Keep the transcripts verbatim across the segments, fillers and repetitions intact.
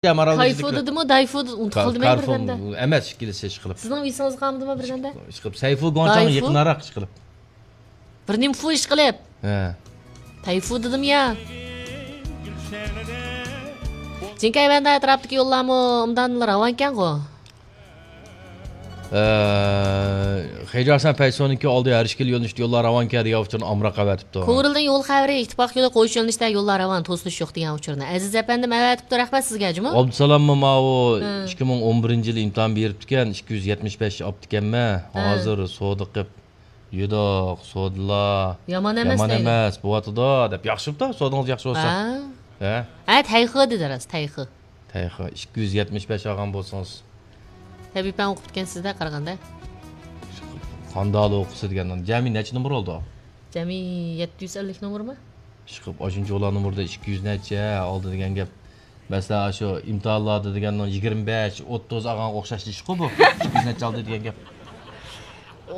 يا، مارال كايفۇ دېدىمۇ، دايفۇ دېدىم، ئۇنتۇپ قالدىم مەن بىردەمدە. ئەمەس، ئىككىلىسى ئىشقىلىپ. سىزنىڭ ئېسىڭىزگە قالمىدىمۇ بىردەمدە؟ ئىشقىلىپ، سەيفۇ گۇاڭچاڭ دايفۇ؟ يېقىنراق ئىشقىلىپ. بىر نېمە فۇ ئىشقىلىپ. ھە. تەيفۇ دېدىم يا. جىنكەي ۋەندە ئەتراپتىكى يوللارمۇ ئوبدان راۋانكەنغۇ؟ ئە، خېجاسەن پەيسونىڭكى ئالدى ھەر ئىككىلا يۆنىلىشتە يوللار راۋانكەن دېگەن ئۇچۇرنى ئامراق ئەۋەتىپتۇ. كورلدىن يول خەۋىرى، ئىتتىپاق يولى قويۇش يۆنىلىشتە يوللار راۋان، توسۇلۇش يوق دېگەن ئۇچۇرنى ئەزىز ئەپەندىم ئەۋەتىپتۇ. رەھمەت سىزگە، جۇمۇ. ئابدۇسالاممۇ ماۋۇ ھە. ئىككى مىڭ ئون بىرىنچى يىلى ئىمتىھان بېرىپتىكەن، ئىككى يۈز يەتمىش بەش ئاپتىكەنمەن. ھە. ھازىر سودا قىپ يۈدۈق، سودىلا. يامان ئەمەس يامان دەيدۇ. ئەمەس، بوۋاتىدۇ، دەپ. ياخشىمۇ، سودىڭىز ياخشى بولسا. ھە. ھە؟ ھە، تەيخې دېدى راست، تەيخې. تەيخې، ئىككى يۈز يەتمىش بەش ئالغان بولسىڭىز. تەبىئىي پەن ئوقۇپ كەتكەنسىز-دە، قارىغاندا. قانداق ئوقۇسا دېگەندىن. جەمئىي نەچچە نومۇر بولدى؟ جەمئىي يەتتە يۈز ئەللىك نومۇرمۇ؟ ئىشقىلىپ، ئاشۇنچە ئۇلار نومۇردا ئىككى يۈز نەچچە ئالدى دېگەن گەپ. مەسىلەن، ئاشۇ ئىمتىھانلاردا دېگەننىڭ يىگىرمە بەش، ئوتتۇز ئالغانغا ئوخشاش ئىشقۇ بۇ. ئىككى يۈز نەچچە ئالدى دېگەن گەپ.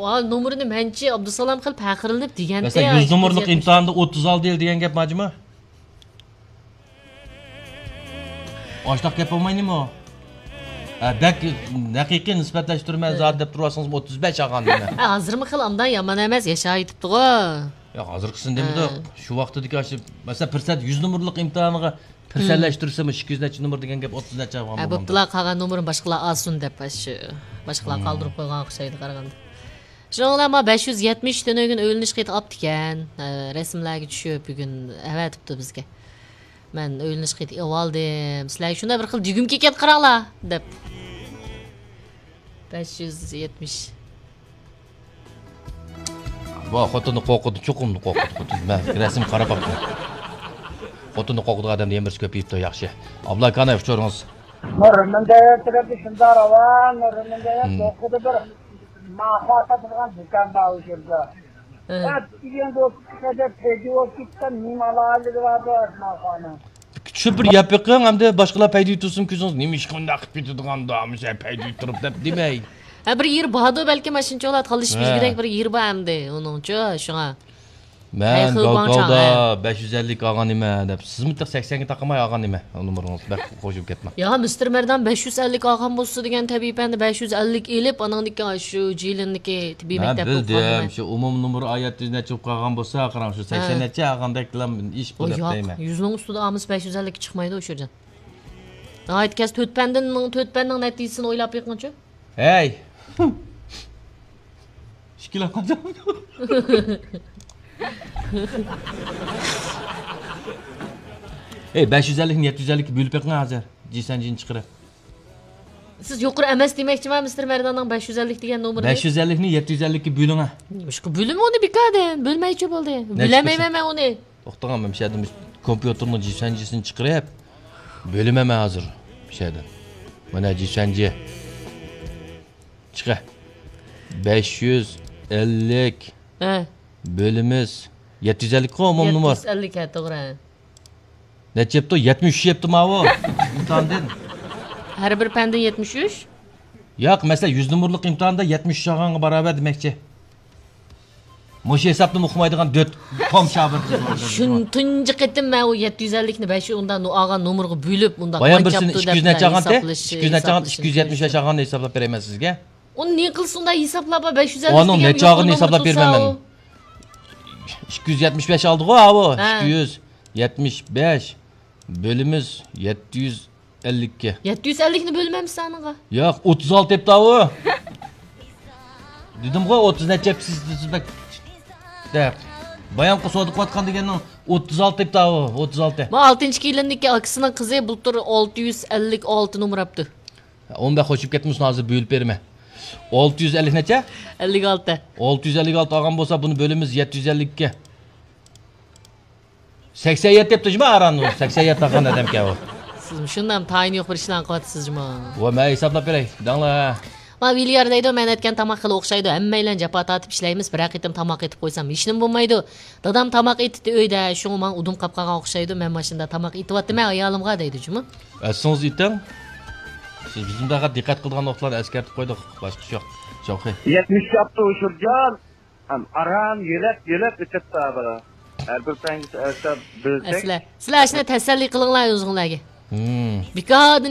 ۋا، نومۇرنى مەنچە ئابدۇسالام قىلىپ پەخىرلىنىپ دېگەنتى. مەسىلەن، يۈز نومۇرلۇق ئىمتىھاندا ئوتتۇز ئالدى دېگەن گەپ ماجىمۇ؟ ئاشتاق گەپ بولمايدىمۇ؟ ھە، بەك ھەقىقىي نىسبەتلەشتۈرمە زادى دەپ تۇرۇۋاتسىڭىز، ئوتتۇز بەش ئالغان دېمە. ھە، ھازىرمۇ خېلى ئانداق يامان ئەمەس، ياشاۋېتىپتىغۇ. ياق، ھازىرقىسىنى دېمىدۇق. ھە. شۇ ۋاقتىدىكى ئاشۇ، مەسىلەن، پىرسەنت يۈز نومۇرلۇق ئىمتىھانىغا پىرسەنتلەشتۈرسىمۇ، ئىككى يۈز نەچچە نومۇر دېگەن گەپ، ئوتتۇز نەچچە ئالغان ھە، بولغاندا. بوپتۇلا، قالغان نومۇرنى باشقىلار ئالسۇن دەپ، ئاشۇ، باشقىلار قالدۇرۇپ قويغان ئوخشايدۇ قارىغاندا. شۇنىڭ بىلەن ما بەش يۈز يەتمىش تۈنۈگۈن ئۆيلىنىش خېتى ئاپتىكەن. ھە، رەسىملەرگە چۈشۈپ، بۈگۈن ئەۋەتىپتۇ بىزگە. مەن ئۆيلىنىش خېتى ئېلىۋالدىم. سىلەرگە شۇنداق بىر خىل دېگۈم كېلىپ كەتتى، قاراڭلار، دەپ. بەش يۈز يەتمىش. بۇ خوتۇننى قورقۇتىدۇ، چوقۇم قورقۇتىدۇ خوتۇن. مەن رەسىمگە قاراپ باقتىم. خوتۇننى قورقۇتىدىغان ئادەمدە يەنە بىرسى كۆپىيىپتۇ، ياخشى. ئابلا كاناي ئۇچۇرىڭىز. نۇرمۇندەيەت تەرەپتە شۇنداق راۋان، نۇرمۇندەيەت ھىم. دوقىدا بىر ماخا ساتىدىغان دۇكان بار ئۇ يەردە. ھە. ئەت دېگەن دوستلۇققا دەپ پەيدە بولۇپ كېتىپ، نېمە ئالاھىدىلىكى بار بۇ ماخانىڭ؟ چۈشۈرۈپ بىر يەپ بېقىڭ، ئەمدى باشقىلار پەيدە يۇتۇرسۇن، كۆزىڭىز نېمە ئىشقا ئۇنداق قىلىپ كېتىدىغان، مۇشۇ پەيدە يۇتۇرۇپ دەپ دېمەي. ھە، بىر يېرى باردۇ بەلكىم، ماشىنىچىلار تالىشىپ ھە. يۈرگۈدەك بىر يېرى بار ئەمدى ئۇنىڭچۇ، شۇڭا. مەن ھەي، خېل گاۋكاۋدا گۇاڭچاڭ، ھە. بەش يۈز ئەللىك ئالغان ئىمەن دەپ، سىزمۇ تېخى سەكسەنگە تاقىماي ئالغان ئىمەن نومۇرىڭىزنى. بەك قوشۇپ كەتمەڭ. يا، مىستېر مەردان بەش يۈز ئەللىك ئالغان بولسا دېگەن تەبىئىي پەندە بەش يۈز ئەللىك ئېلىپ، ئانىڭدىن كېيىن شۇ جىلىننىكى تېببىي مەن مەكتەپ بىلدىم، بولغان. شۇ ئومۇمىي نومۇر ئايەت يۈز نەچچە بولۇپ قالغان بولسا، قاراڭ، شۇ ھە. سەكسەن نەچچە ئالغاندەكلا ئىش بۇ ئۇ دەپ ياق، دەيمەن. يۈزنىڭ ئۈستىدە ئالمىسا بەش يۈز ئەللىك چىقمايدۇ، ئۇچۇرجان. ناھايىتى كەس تۆت پەندىن، تۆت پەننىڭ نەتىجىسىنى ئويلاپ بېقىڭچۇ. ھەي! ئىككىلا قالدى. ئەي، بەش يۈز ئەللىكنى يەتتە يۈز ئەللىككە بۆلۈپ بېقىڭ ھازىر. جىسەنجىنى چىقىرىپ. سىز يۇقىرى ئەمەس دېمەكچىما، مىستېر مەرداننىڭ بەش يۈز ئەللىك دېگەن نومۇرىنى؟ بەش يۈز ئەللىكنى يەتتە يۈز ئەللىككە بۆلۈڭە. مۇشۇ بۆلۈم ئۇنى بىكاردىن، بۆلمەيچۇ بولدى. نەچچە بۆلەلمەيمەن مەن ئۇنى. توختاڭ، مەن مۇشۇ يەردىن كومپيۇتېرنىڭ جىسەنجىسىنى چىقىرىپ، بۆلىمەن مەن ھازىر مۇشۇ يەردىن. مانا جىسەنجى. چىقە. بەش يۈز ئەللىك ھە. بۆلىمىز يەتتە يۈز ئەللىكقۇ ئومۇمىي نومۇر. يەتتە يۈز ئەللىك، ھە، توغرا. نەچچە يەپتۇ؟ يەتمىش ئۈچ يەپتۇ ماۋۇ. ئىمتىھاندىن. ھەر بىر پەندىن يەتمىش ئۈچ؟ ياق، مەسىلەن، يۈز نومۇرلۇق ئىمتىھاندا يەتمىش ئۈچ ئالغانغا باراۋەر دېمەكچى. مۇشۇ ھېسابنى ئۇقمايدىغان دۆت توم شابىر قىز بار. شۇن تۇنجى قېتىم مەن ئۇ يەتتە يۈز ئەللىكنى بەش ئۇنداق نۇ ئالغان نومۇرغا بۆلۈپ، ئۇنداق بايان بىرسىنى ئىككى يۈز نەچچە ئالغانتى؟ ئىككى يۈز نەچچە ئالغانتى؟ ئىككى يۈز يەتمىش بەش ئالغاننى ھېسابلاپ بېرەيمەن سىزگە. ئۇنى نېمە قىلسا ئۇنداق ھېسابلاپ، بەش يۈز ئەللىك ئۇنىڭ دېگەن نەچچە يۇقىرى ئالغىنى نومۇر ھېسابلاپ تۇرسا بېرىمەن مەن. ئۇ. ئىككى يۈز يەتمىش بەش ئالدىغۇ، ئاۋۇ. ھە. ئىككى يۈز يەتمىش بەش بۆلىمىز يەتتە يۈز ئەللىككە. يەتتە يۈز ئەللىكنى بۆلمەمسىز ئانىڭغا؟ ياق، ئوتتۇز ئالتە دەپتۇ ئاۋۇ. دېدىمغۇ، ئوتتۇز نەچچە دەپ سىز، سىز بەك دەپ. بايامقى سودا قىلىۋاتقان دېگەننىڭ ئوتتۇز ئالتە دەپتۇ ئاۋۇ، ئوتتۇز ئالتە. ما ئالتىنچى كېلىننىڭكى ئاكىسىنىڭ قىزى بۇلتۇر ئالتە يۈز ئەللىك ئالتە نومۇر ئاپتۇ. ئۇنى بەك قوشۇپ كەتمىسۇن، ھازىر بۆلۈپ بېرىمەن. ئالتە يۈز ئەللىك نەچچە؟ ئەللىك ئالتە. ئالتە يۈز ئەللىك ئالتە ئالغان بولسا، بۇنى بۆلىمىز يەتتە يۈز ئەللىككە. سەكسەن يەتتە دەپتۇ جۇما ئاران، سەكسەن يەتتە ئالغان ئادەمكەن ئۇ. سىزمۇ شۇنداق تايىنى يوق بىر ئىشلارنى قىلىۋاتىسىز جۇما. ۋە مەن ھېسابلاپ بېرەي، دەڭلار. ما ۋىليار دەيدۇ، مەن ئەتكەن تاماق خېلى ئوخشايدۇ، ھەممەيلەن جاپا تارتىپ ئىشلەيمىز، بىرەر قېتىم تاماق ئېتىپ قويسام ھېچنېمە بولمايدۇ. دادام تاماق ئېتىتتى ئۆيدە، شۇڭا ماڭا ئۇدۇم قاپ قالغان ئوخشايدۇ، مەن ماشىنىدا تاماق ئېتىۋاتىمەن ئايالىمغا دەيدۇ جۇمۇ. ئەسلىڭىزدە ئېتىڭ. سىز بىزمۇ پەقەت دىققەت قىلىدىغان نۇقتىلارنى ئەسكەرتىپ قويدۇق، باشقا ئىش يوق. شوخى. يەتمىش ياپتۇ ئۇشۇرجان. ھەم ئاران يۆلەپ، يۆلەپ ئېتىپتۇ بۇلار. ھەر بىر پەنگە ئەسلەپ بىلسەك. ئەسلە. سىلەر ئاشۇنى تەسەللى قىلىڭلار ئۆزۈڭلارگە. مم. بىكاردىن